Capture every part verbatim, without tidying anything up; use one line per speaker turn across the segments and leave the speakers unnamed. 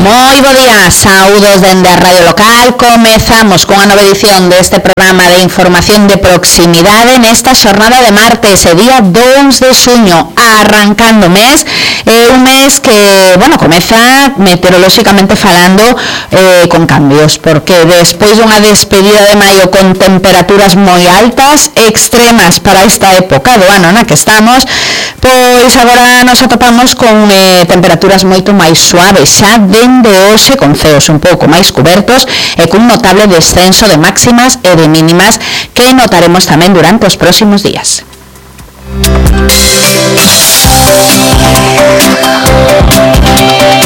Moi bo día, saúdos dende a Radio Local. Comezamos con a nova edición deste programa de información de proximidade nesta xornada de martes, e día dous de xuño, arrancando o mes, eh, un mes que, bueno, comeza meteorolóxicamente falando eh, con cambios, porque despois dunha despedida de maio con temperaturas moi altas, extremas para esta época do ano na que estamos, pois agora nos atopamos con eh, temperaturas moito máis suaves xa dende hoxe, con ceos un pouco máis cubertos e cun notable descenso de máximas e de mínimas que notaremos tamén durante os próximos días.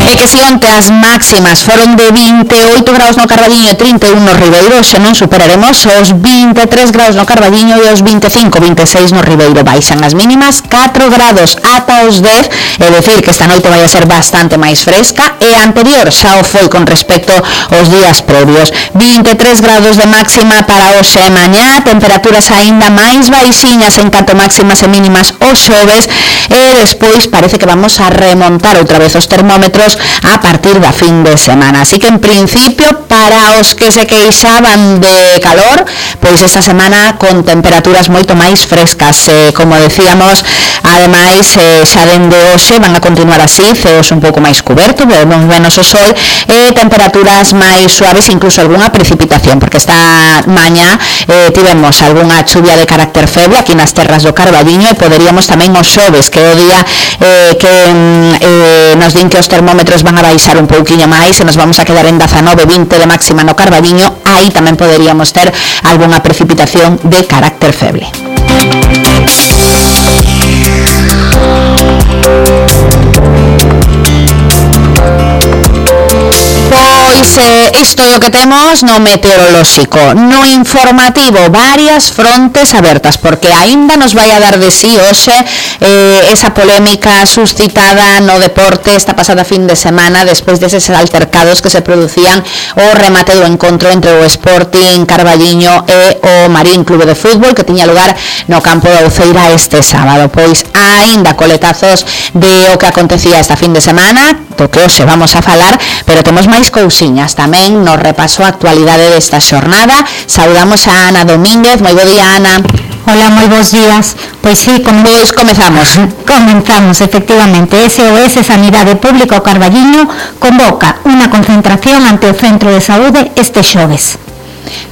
E que se onte as máximas foron de vinte e oito graus no Carballiño e trinta e un no Ribeiro, xe non superaremos os vinte e tres graus no Carballiño e os vinte e cinco, vinte e seis no Ribeiro. Baixan as mínimas catro grados ata os dez, é dicir que esta noite vai a ser bastante máis fresca, e anterior xa o foi con respecto aos días previos. vinte e tres grados de máxima para hoxe e mañá, temperaturas aínda máis baixiñas en canto máximas e mínimas os xoves, e despois parece que vamos a remontar outra vez os termómetros a partir da fin de semana. Así que en principio, para os que se queixaban de calor, pois esta semana con temperaturas moito máis frescas, eh, como decíamos, ademais eh, xa dende hoxe van a continuar así, ceos un pouco máis cubertos, vemos menos o sol e temperaturas máis suaves, incluso algunha precipitación, porque esta mañá eh, tivemos algunha chuvia de carácter feble aquí nas terras do Carballiño, e poderíamos tamén os xoves, que é o día eh, que eh, nos din que os termómetros van a baixar un pouquiño máis e nos vamos a quedar en dezanove, vinte de máxima no Carballiño. Aí tamén poderíamos ter algunha precipitación de carácter feble. Pois eh, isto é o que temos no meteorolóxico. No informativo, varias frontes abertas, porque aínda nos vai a dar de sí hoxe eh, esa polémica suscitada no deporte esta pasada fin de semana, despois deses altercados que se producían o remate do encontro entre o Sporting Carballiño e o Marín Clube de Fútbol, que tiña lugar no campo da Uceira este sábado. Pois aínda coletazos de o que acontecía esta fin de semana, do que hoxe vamos a falar, pero temos máis cousiñas tamén no repaso a actualidade desta xornada. Saudamos a Ana Domínguez. Moi bo día, Ana.
Hola, moi bons días. Pois sí, como
pois comezamos.
Comenzamos, efectivamente. S O S Sanidade Pública o Carballiño convoca unha concentración ante o Centro de Saúde este xoves.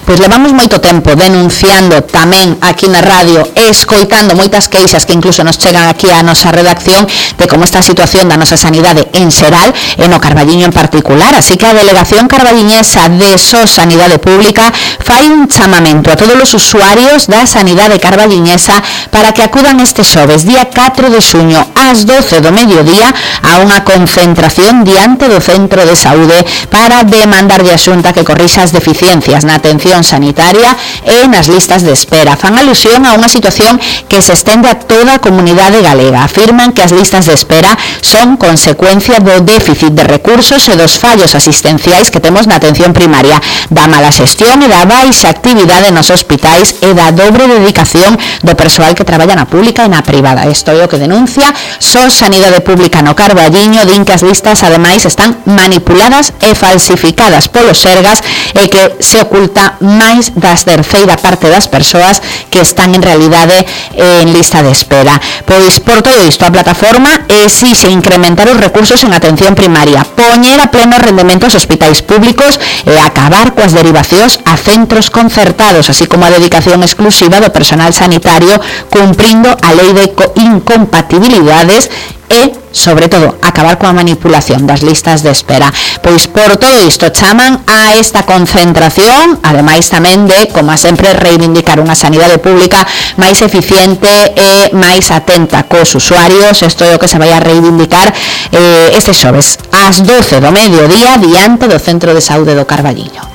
Pois levamos moito tempo denunciando tamén aquí na radio, escoitando moitas queixas que incluso nos chegan aquí á nosa redacción de como está a situación da nosa sanidade en xeral e no Carballiño en particular. Así que a Delegación Carballiñesa de S O S Sanidade Pública fai un chamamento a todos os usuarios da sanidade carballiñesa para que acudan este xoves, día catro de xuño, ás doce do mediodía, a unha concentración diante do Centro de Saúde para demandarlle a Xunta que corrixa as deficiencias na atención sanitaria e nas listas de espera. Fan alusión a unha situación que se estende a toda a comunidade galega. Afirman que as listas de espera son consecuencia do déficit de recursos e dos fallos asistenciais que temos na atención primaria, da mala xestión e da baixa actividade nos hospitais e da dobre dedicación do persoal que traballa na pública e na privada. Isto é o que denuncia S O S Sanidade Pública no Carballiño. Din que as listas ademais están manipuladas e falsificadas polos sergas e que se oculta máis das terceira parte das persoas que están en realidade en lista de espera. Pois por todo isto a plataforma exixe incrementar os recursos en atención primaria, poñer a pleno rendemento os hospitais públicos e acabar coas derivacións a centros concertados, así como a dedicación exclusiva do personal sanitario, cumprindo a lei de incompatibilidades e, sobre todo, acabar coa manipulación das listas de espera. Pois por todo isto chaman a esta concentración, ademais tamén de, como sempre, reivindicar unha sanidade pública máis eficiente e máis atenta cos usuarios. Isto é o que se vai a reivindicar eh, este xoves, ás doce do mediodía, diante do Centro de Saúde do Carballiño.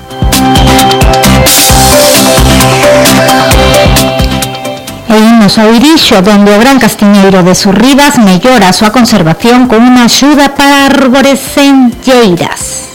E imos ao Irixo, donde o Gran Castiñeiro de Surribas mellora a súa conservación con unha axuda para arboresenlleiras.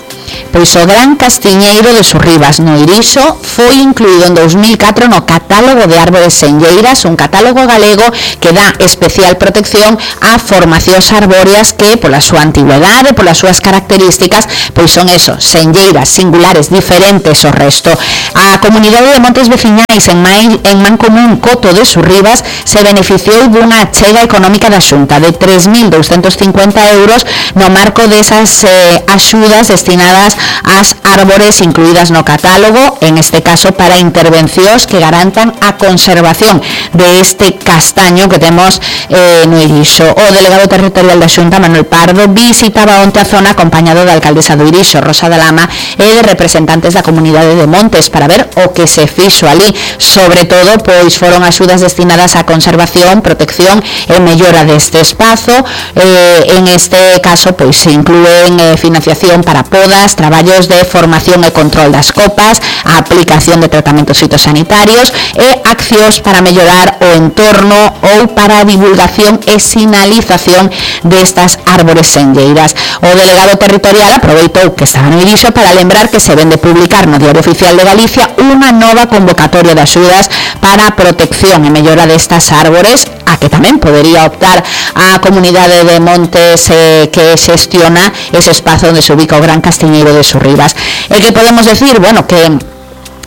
pois o Gran Castiñeiro de Surribas no Irixo foi incluído en dos mil catro no catálogo de árbores senlleiras, un catálogo galego que dá especial protección a formacións arbóreas que, pola súa antigüedade, polas súas características, pois son eso, senlleiras singulares, diferentes ao resto. A comunidade de montes veciñais en, mai, en Mancomún Coto de Surribas se beneficiou dunha achega económica da Xunta de tres mil douscentos cincuenta euros no marco desas eh, axudas destinadas ás árbores incluídas no catálogo, en este caso para intervencións que garantan a conservación de este castaño que temos eh, no Irixo. O delegado territorial da Xunta, Manuel Pardo, visitaba onte a zona acompañado da alcaldesa do Irixo, Rosa da Lama, e de representantes da comunidade de Montes para ver o que se fixo ali. Sobre todo, pois foron axudas destinadas á conservación, protección e mellora deste espazo. Eh, en este caso, pois se inclúen eh, financiación para podas, traballos de formación e control das copas, a aplicación de tratamentos fitosanitarios e accións para mellorar o entorno ou para a divulgación e sinalización destas árbores senlleiras. O delegado territorial aproveitou que estaba no Irixo para lembrar que se ven de publicar no Diario Oficial de Galicia unha nova convocatoria de axudas para a protección e mellora destas árbores, a que tamén podería optar a comunidade de Montes eh, que xestiona ese espazo onde se ubica o Gran Castiñeiro de Surribas. E que podemos decir, bueno, que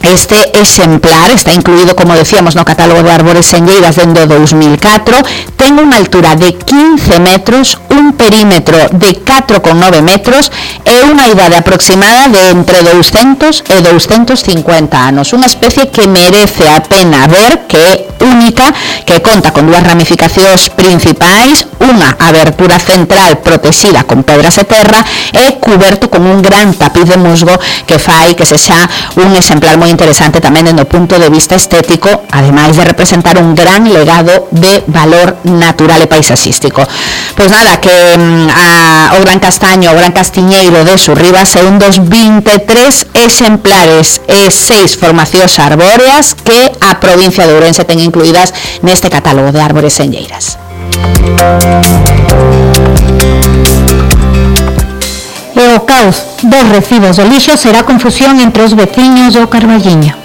este exemplar está incluído, como decíamos, no catálogo de árbores senlleiras dende o dos mil catro, ten unha altura de quince metros, un perímetro de catro coma nove metros e unha idade aproximada de entre douscentos e douscentos cincuenta anos. Unha especie que merece a pena ver, que é única, que conta con dúas ramificacións principais, unha abertura central protexida con pedras e terra e cuberto con un gran tapiz de musgo que fai que sexa un exemplar moi interesante tamén dende o punto de vista estético, ademais de representar un gran legado de valor natural e paisaxístico. Pois nada, que a, o Gran Castaño, o Gran Castiñeiro de Surribas é un dos vinte e tres exemplares e seis formacións arbóreas que a provincia de Ourense ten incluídas neste catálogo de árbores senlleiras.
E o caos dos recibos do lixo será confusión entre os veciños do Carballiño.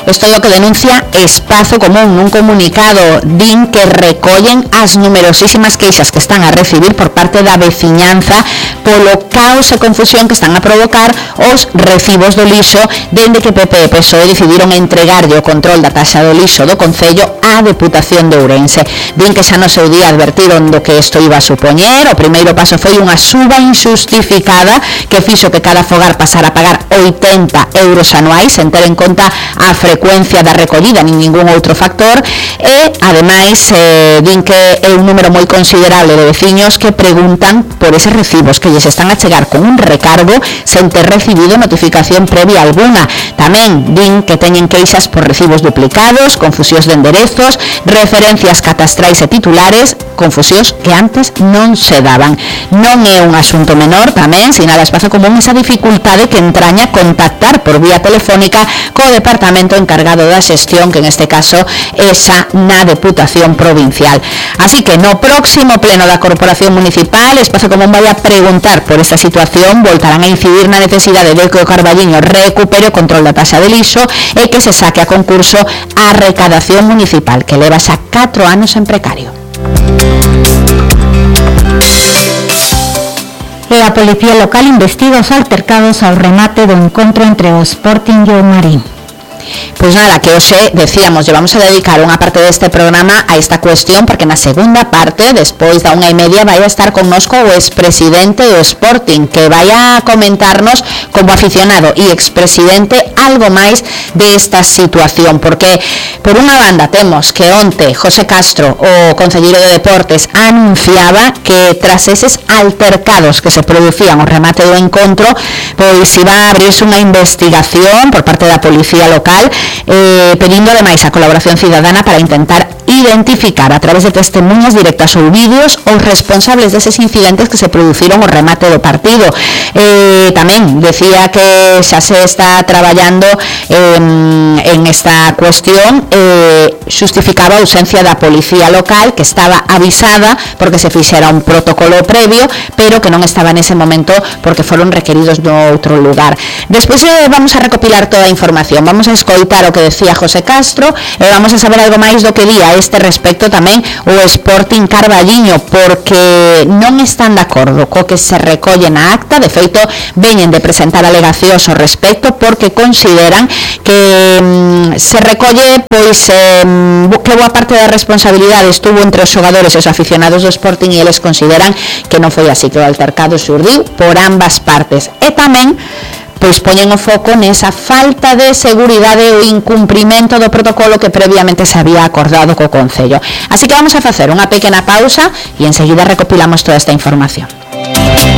Isto é o que denuncia Espazo Común nun comunicado. Din que recollen as numerosísimas queixas que están a recibir por parte da veciñanza polo caos e confusión que están a provocar os recibos do lixo dende que P P e P S O E decidiron entregarlle o control da taxa do lixo do Concello á Deputación de Ourense. Din que xa no seu día advertiron do que isto iba a supoñer. O primeiro paso foi unha suba injustificada que fixo que cada fogar pasara a pagar oitenta euros anuais sen ter en conta a frecuencia da recollida nin ningún outro factor e, ademais, eh, din que é un número moi considerable de veciños que preguntan por eses recibos que lles están a chegar con un recargo sen ter recibido notificación previa alguna. Tamén din que teñen queixas por recibos duplicados, confusións de enderezos, referencias catastrais e titulares, confusións que antes non se daban. Non é un asunto menor, tamén, sinala Espazo Común, esa dificultade que entraña contactar por vía telefónica co departamento encargado da xestión, que en este caso esa na Deputación Provincial. Así que no próximo pleno da Corporación Municipal, Espazo Común vai a preguntar por esta situación, voltarán a incidir na necesidade de que o Carballiño recupere o control da taxa de lixo e que se saque a concurso a recadación municipal, que leva xa catro anos en precario.
E a Policía Local investiga os altercados ao remate do encontro entre o Sporting e o Marín.
Pois nada, que hoxe, decíamos, llevamos a dedicar unha parte deste programa a esta cuestión, porque na segunda parte, despois da unha e media, vai a estar connosco o expresidente do Sporting, que vai a comentarnos como aficionado e expresidente algo máis desta situación, porque por unha banda temos que onte José Castro, o concelleiro de Deportes, anunciaba que tras eses altercados que se producían o remate do encontro, pois iba a abrirse unha investigación por parte da Policía Local local, eh, pedindo ademais a colaboración cidadana para intentar identificar a través de testemunhas directas ou vídeos os responsables deses incidentes que se produciron ao remate do partido. Eh, tamén decía que xa se está traballando eh, en esta cuestión, eh, xustificaba a ausencia da policía local, que estaba avisada porque se fixera un protocolo previo, pero que non estaba nese momento porque foron requeridos no outro lugar. Despois eh, vamos a recopilar toda a información, vamos a escoitar o que decía José Castro e vamos a saber algo máis do que día este respecto tamén o Sporting Carballiño, porque non están de acordo co que se recolle na acta. De feito, veñen de presentar alegacións ao respecto porque consideran que mm, se recolle pois eh, que boa parte da responsabilidade estuvo entre os xogadores e os aficionados do Sporting e eles consideran que non foi así, que o altercado xurdiu por ambas partes. E tamén pois poñen o foco nesa falta de seguridade ou incumprimento do protocolo que previamente se había acordado co Concello. Así que vamos a facer unha pequena pausa e enseguida recopilamos toda esta información.